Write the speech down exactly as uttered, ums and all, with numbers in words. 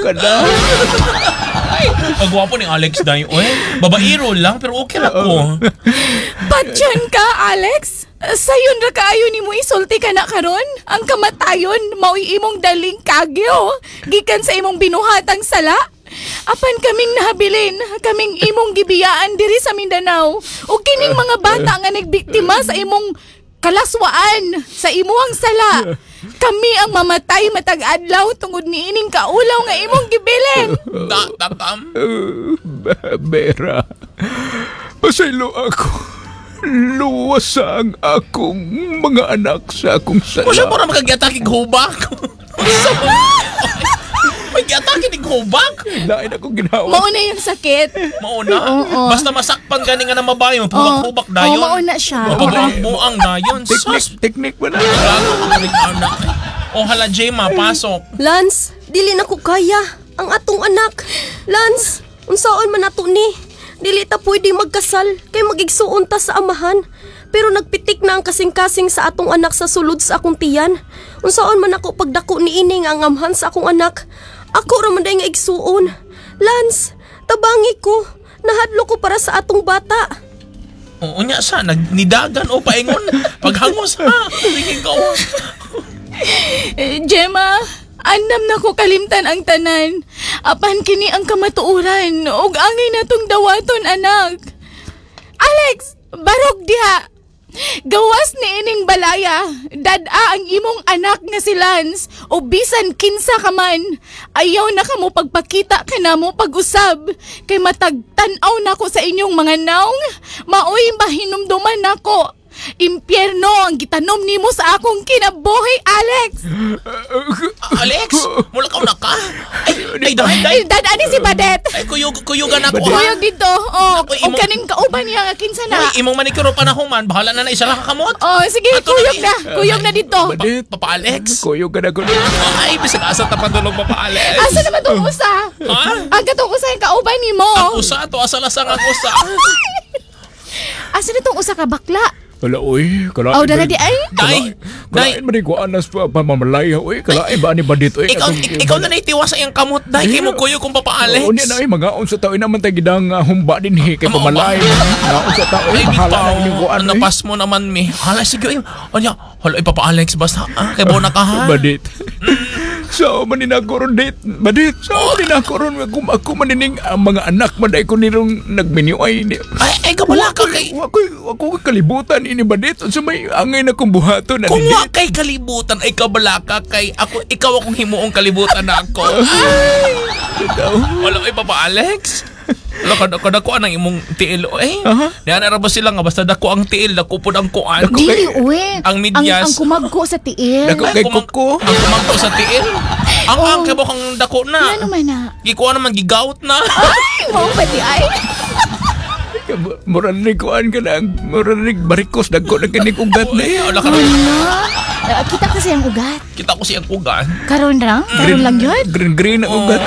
ka na. Ay, ang gwapo ni Alex day, oy. Babaero lang pero okay ra ko. Patyon ka, Alex? Sayon ra kaayo nimo isulti ka na karon? Ang kamatayon mao'y imong daling kagyo gikan sa imong binuhatang sala. Apan kaming nahabilin, kaming imong gibiyaan diri sa Mindanao. Ug kining mga bata nga nagbiktima sa imong kalaswaan, sa imuhang sala. Kami ang mamatay matag adlaw tungod niining kaulaw nga imong gibilin. Da, takam. Bera, pasaylo ako. Luwas ang akong mga anak sa akong sala. Kung siya para makagiatake hubak. May giatake ni hubak. Lain akong ginawa. Mao na yung sakit. Mauna. Oo. Basta masakpan gani nga na mabayo, maghubak-hubak dayon. Oo, mauna siya. Mapabuang-buang dayon. Teknik, Sus. teknik ba na? Grabe ang anak. Oh, hala, Gemma, pasok. Lance, dili na ko kaya. Ang atong anak. Lance, unsaon man nato ni? Dili ta pwede magkasal kay magigsuon ta sa amahan. Pero nagpitik na ang kasing-kasing sa atong anak sa sulod sa akong tiyan. Unsaon man ako pagdako niini nga ang amhan sa akong anak. Ako ra man day nga igsuon. Lance, tabangi ko. Nahadlo ko para sa atong bata. Oo nya sa nagnidagan o paingon. Paghangos ha. Sige ko. Eh, Gemma, andam na ko kalimtan ang tanan. Apan kini ang kamatuoran ug angay natong dawaton anak. Alex, barog diha. Gawas ni ining balaya, dad-a ang imong anak nga si Lance o bisan kinsa ka man. Ayaw na kamo pagpakita kanamo pag-usab kay matag tan-aw nako sa inyong mga naong, maoy mahinumduman nako. Impyerno ang gitanom nimo sa akong kinabuhi, Alex. Alex, mula ka na ka. Ay, ay, day, day. Ay, dad-a ni si Badet. Ay, kuyog, kuyugan ako ha. Kuyog dito. Oh, Ako, o imong- kaning kauban niya nga kinsa na. Uy, imong manicure pa na human, bahala na na isa lang ka kamot. Oh, sige, Ato na kuyog ni- na. Kuyog na dito. Badit. Papa Alex. Kuyog ka na ko. Ay, bisag asa ta padulong Papa Alex. Asa naman tong usa? Ha? Ang katong usa yung kauban nimo. Ang usa to asa lasang ang usa. Asa na tong usa ka bakla? Wala, uy. Kalain. Oh, dala di ay. Day, day. Kalain man ko anas pa pamamalaya, uy. Kalain ba ni Badit, uy. Ikaw, ik- ikaw na naitiwa sa iyang kamot, day. Kay mo kuyog kung Papa Alex. Oo, niya na ay mga sa tao naman tayo gidang uh, humba din he kay Ama, pamalay. Mga sa tao ay Ay, bahala bitaw. na inyong kuan. uy. Napas mo naman, mi. Hala, sige. Ay, Anya, hala, ay, Papa Alex, basta. Ah, kay bona ka, ha? Badit. So, manin ako ron, dit. Badit. So, manin ako ron. Kung ako manining ang mga anak, maday ko nirong nagminyo ay. Ni, Ay, ay, kabala ka kay... Wa ko'y, wa ko'y kalibutan ini badit. Sa may angay na kong buhaton. Kung wa kay kalibutan ay kabala ka kay ako ikaw akong himuong kalibutan na ako. Ay! Wala ay Papa Alex. Wala ka kada ko ang imong tiil eh. Aha. Niya na ra ba sila nga basta dako ang tiil dako pud ang kuan. Dako. Dili uwe. Ang medyas. Ang, ang kumagko sa tiil. Dako. Ay, Kay kumang- kuko. Ang kumangko sa tiil. Ang Oh. ang kay kang dako na. Ano man na? Gikuha naman gigawt na. Ay, mao pa di ay. Mura ni kuan ka na. Mura ni barikos. Dagko na kinig ugat na eh. Wala ka Wala. Ah, kita kasi ang ugat. Kita ko siyang ugan. Karon lang? Karon lang yun? Green green ang ugat.